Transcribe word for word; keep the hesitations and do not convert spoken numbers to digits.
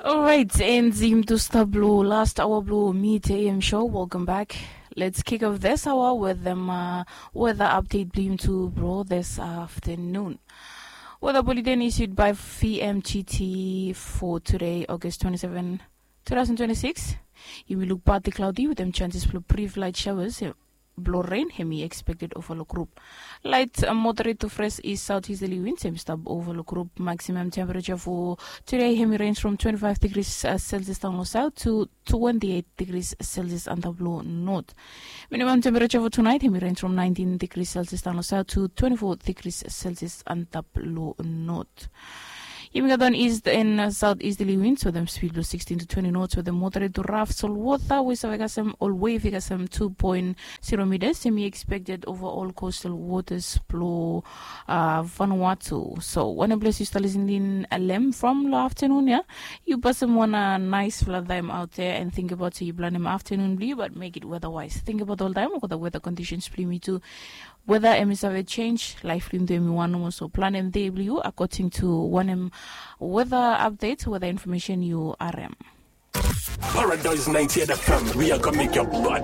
Alright, and yumi tu stap blo last hour blo Mid A M show. Welcome back. Let's kick off this hour with them uh, weather update blo yumi tu blo this afternoon. Weather bulletin issued by V M G T for today, August twenty-seven, two thousand twenty-six. Yumi look partly cloudy with them chances for brief light showers. Blo rain hemi expected over lo group. Light uh, moderate to fresh east southeasterly winds hemi stap over lo group. Maximum temperature for today hemi range from twenty-five degrees uh, Celsius down lo south to twenty-eight degrees Celsius antap lo north. Minimum temperature for tonight hemi range from nineteen degrees Celsius down lo south to twenty-four degrees Celsius antap lo north. Yumi gat wan east and uh, southeasterly winds with them speed blo sixteen to twenty knots with them moderate to rough sol water. We save got some all wave got some two point zero meters. Hemi expected over all coastal waters blo uh, Vanuatu. So one place you start listening alem from lo afternoon, yeah. You pass them one uh, nice flood time out there and think about so you plan them afternoon blue, but make it weather wise. Think about all time or the weather conditions blue me too. Weather hemi save change, life blo yumi tu hemi wan nomo, so plan hemi dei blo yu according to wanem weather update, weather information yu harem. Paradise ninety-eight F M, we are gonna make your body